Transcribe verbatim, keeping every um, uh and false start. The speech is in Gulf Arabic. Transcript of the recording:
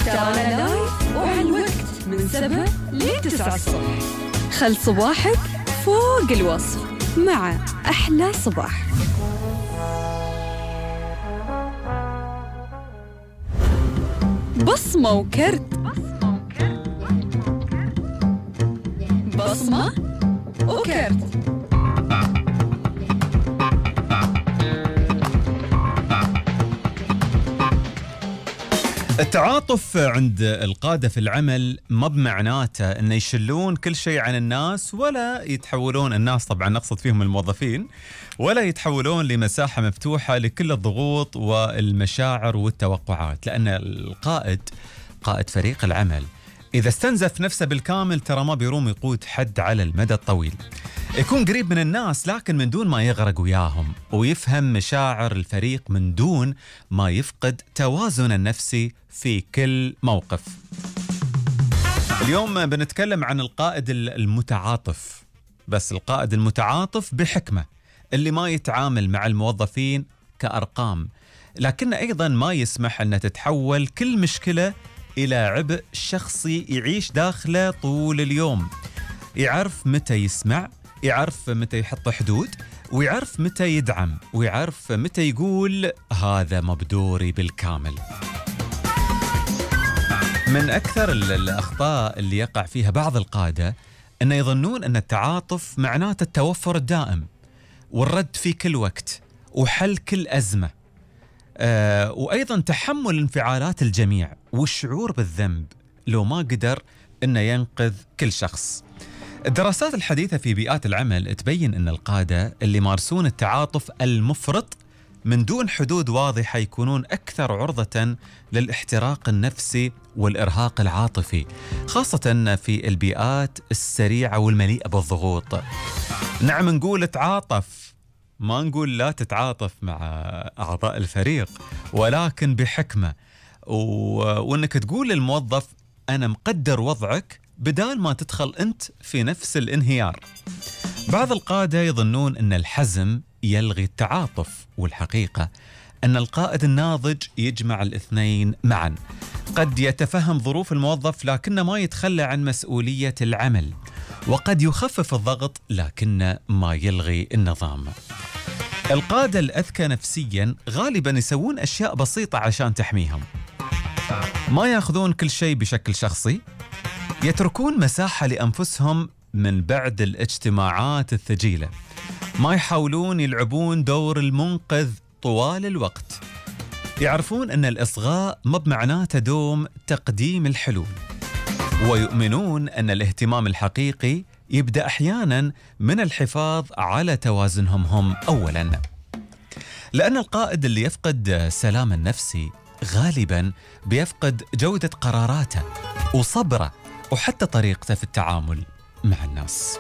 ترانا لايف وعلى الوقت من سبعة لتسعة الصبح. خل صباحك فوق الوصف مع أحلى صباح. بصمة وكرت، بصمة وكرت. التعاطف عند القادة في العمل ما بمعناته أن يشلون كل شيء عن الناس، ولا يتحولون الناس، طبعا نقصد فيهم الموظفين، ولا يتحولون لمساحة مفتوحة لكل الضغوط والمشاعر والتوقعات. لأن القائد قائد فريق العمل إذا استنزف نفسه بالكامل ترى ما بيروم يقود حد على المدى الطويل. يكون قريب من الناس لكن من دون ما يغرق وياهم، ويفهم مشاعر الفريق من دون ما يفقد توازن النفسي في كل موقف. اليوم بنتكلم عن القائد المتعاطف، بس القائد المتعاطف بحكمة، اللي ما يتعامل مع الموظفين كأرقام، لكن أيضا ما يسمح أن تتحول كل مشكلة إلى عبء شخصي يعيش داخله طول اليوم. يعرف متى يسمع، يعرف متى يحط حدود، ويعرف متى يدعم، ويعرف متى يقول هذا مبدوري بالكامل. من أكثر الأخطاء اللي يقع فيها بعض القادة أن يظنون أن التعاطف معناته التوفر الدائم والرد في كل وقت وحل كل أزمة، آه وأيضا تحمل انفعالات الجميع والشعور بالذنب لو ما قدر أنه ينقذ كل شخص. الدراسات الحديثة في بيئات العمل تبين أن القادة اللي يمارسون التعاطف المفرط من دون حدود واضحة يكونون أكثر عرضة للاحتراق النفسي والإرهاق العاطفي، خاصة في البيئات السريعة والمليئة بالضغوط. نعم نقول تعاطف، ما نقول لا تتعاطف مع أعضاء الفريق، ولكن بحكمة، و... وأنك تقول للموظف أنا مقدر وضعك بدال ما تدخل أنت في نفس الانهيار. بعض القادة يظنون أن الحزم يلغي التعاطف، والحقيقة أن القائد الناضج يجمع الاثنين معا. قد يتفهم ظروف الموظف لكنه ما يتخلى عن مسؤولية العمل، وقد يخفف الضغط لكنه ما يلغي النظام. القادة الأذكى نفسيا غالبا يسوون أشياء بسيطة عشان تحميهم، ما يأخذون كل شيء بشكل شخصي، يتركون مساحة لأنفسهم من بعد الاجتماعات الثقيلة، ما يحاولون يلعبون دور المنقذ طوال الوقت، يعرفون أن الإصغاء ما بمعناته دوم تقديم الحلول، ويؤمنون أن الاهتمام الحقيقي يبدأ أحيانا من الحفاظ على توازنهم هم أولا. لأن القائد اللي يفقد سلام النفسي غالبا بيفقد جودة قراراته وصبره وحتى طريقته في التعامل مع الناس.